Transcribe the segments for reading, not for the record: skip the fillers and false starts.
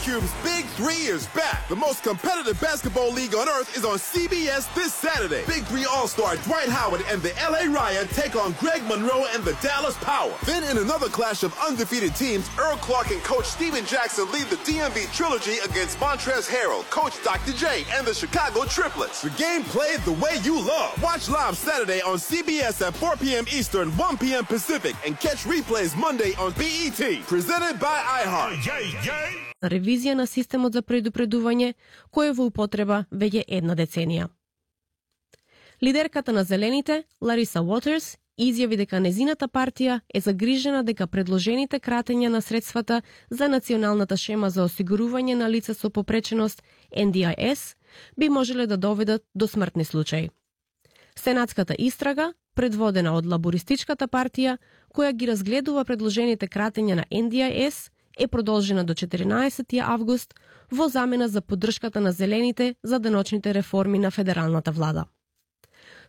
Cube's Big 3 is back. The most competitive basketball league on earth is on CBS this Saturday. Big 3 All-Star Dwight Howard and the LA Riot take on Greg Monroe and the Dallas Power. Then in another clash of undefeated teams, Earl Clark and Coach Steven Jackson lead the DMV Trilogy against Montrezl Harrell, Coach Dr. J, and the Chicago Triplets. The game played the way you love. Watch live Saturday on CBS at 4 p.m. Eastern, 1 p.m. Pacific, and catch replays Monday on BET. Presented by iHeart. Ревизија на системот за предупредување, кој е во употреба веќе една деценија. Лидерката на Зелените, Лариса Уотерс, изјави дека незината партија е загрижена дека предложените кратења на средствата за националната шема за осигурување на лица со попреченост, NDIS, би можеле да доведат до смртни случаи. Сенатската истрага, предводена од лабористичката партија, која ги разгледува предложените кратења на NDIS, е продолжена до 14 август во замена за поддршката на Зелените за деночните реформи на федералната влада.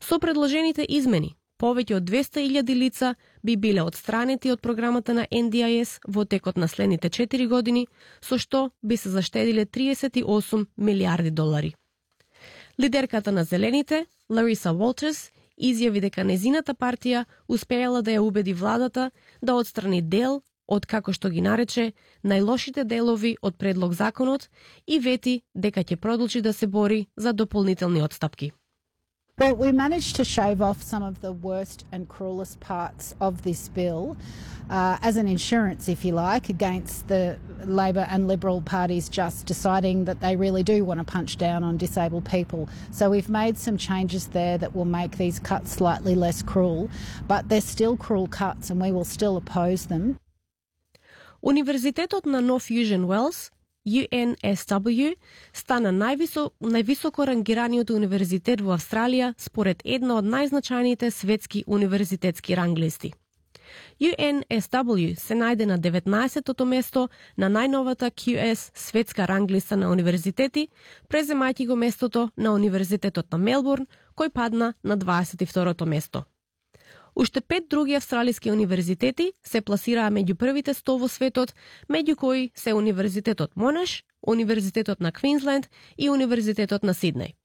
Со предложените измени, повеќе од 200.000 лица би биле отстранети од програмата на NDIS во текот на следните 4 години, со што би се заштедиле 38 милиарди долари. Лидерката на Зелените, Лариса Уотерс, изјави дека незината партија успеала да ја убеди владата да отстрани дел од, како што ги нарече, најлошите делови од предлог законот и вети дека ќе продолжи да се бори за дополнителни отстапки. Well, we managed to shave off some of the worst and cruelest parts of this bill as an insurance, if you like, against the Labor and Liberal parties just deciding that they really do want to punch down on disabled people. So we've made some changes there that will make these cuts slightly less cruel, but they're still cruel cuts and we will still oppose them. Универзитетот на North Fusion Wells, UNSW, стана највисоко рангираниот универзитет во Австралија според една од најзначајните светски универзитетски ранглисти. UNSW се најде на 19-тото место на најновата QS светска ранглиста на универзитети, преземајќи го местото на Универзитетот на Мелбурн, кој падна на 22-то место. Уште 5 други австралиски универзитети се пласираа меѓу првите 100 во светот, меѓу кои се Универзитетот Монаш, Универзитетот на Квинсленд и Универзитетот на Сиднеј.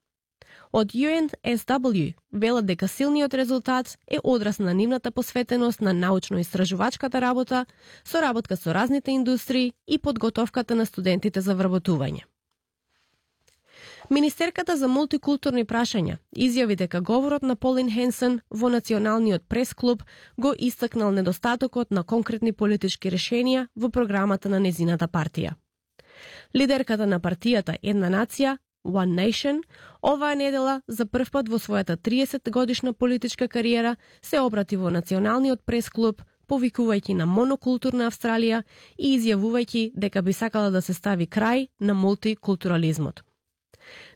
Од UNSW велат дека силниот резултат е одраз на нивната посветеност на научно-истражувачката работа, соработка со разните индустрии и подготовката на студентите за вработување. Министерката за мултикултурни прашања изјави дека говорот на Полин Хенсен во Националниот прес-клуб го истакнал недостатокот на конкретни политички решенија во програмата на незината партија. Лидерката на партијата Една нација, One Nation, оваа недела за прв пат во својата 30-годишна политичка кариера се обрати во Националниот прес-клуб, повикувајќи на монокултурна Австралија и изјавувајќи дека би сакала да се стави крај на мултикултурализмот.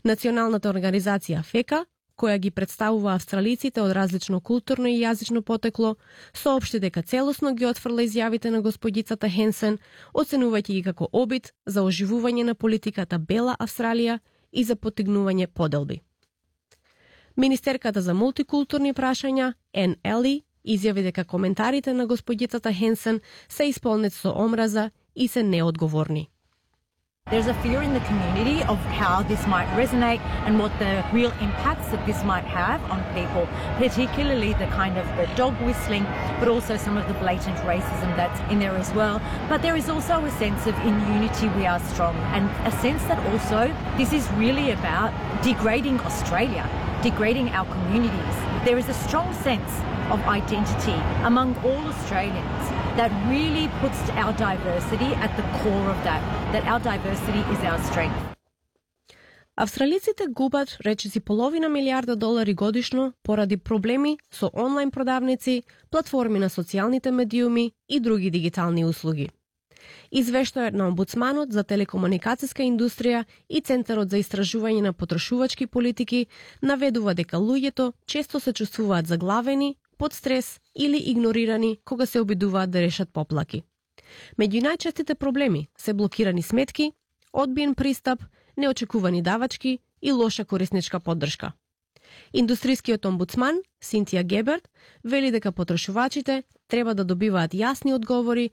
Националната организација ФЕКА, која ги представува австралиците од различно културно и јазично потекло, соопшти дека целосно ги отфрла изјавите на господицата Хенсен, оценувајќи ги како обид за оживување на политиката Бела Австралија и за поттигнување поделби. Министерката за мултикултурни прашања, Ен Ели, изјави дека коментарите на господицата Хенсен се исполнети со омраза и се неодговорни. There's a fear in the community of how this might resonate and what the real impacts that this might have on people, particularly the kind of the dog whistling, but also some of the blatant racism that's in there as well. But there is also a sense of in unity we are strong, and a sense that also this is really about degrading Australia, degrading our communities. There is a strong sense of identity among all Australians that really puts our diversity at the core of that our diversity is our strength. Австралиците губат речиси половина милиарда долари годишно поради проблеми со онлайн продавници, платформи на социјалните медиуми и други дигитални услуги. Извештајот на омбудсманот за телекомуникацијска индустрија и Центарот за истражување на потрошувачки политики наведува дека луѓето често се чувствуваат заглавени, под стрес или игнорирани кога се обидуваат да решат поплаки. Меѓу најчестите проблеми се блокирани сметки, одбиен пристап, неочекувани давачки и лоша корисничка поддршка. Индустрискиот омбудсман, Синтија Геберт, вели дека потрошувачите треба да добиваат јасни одговори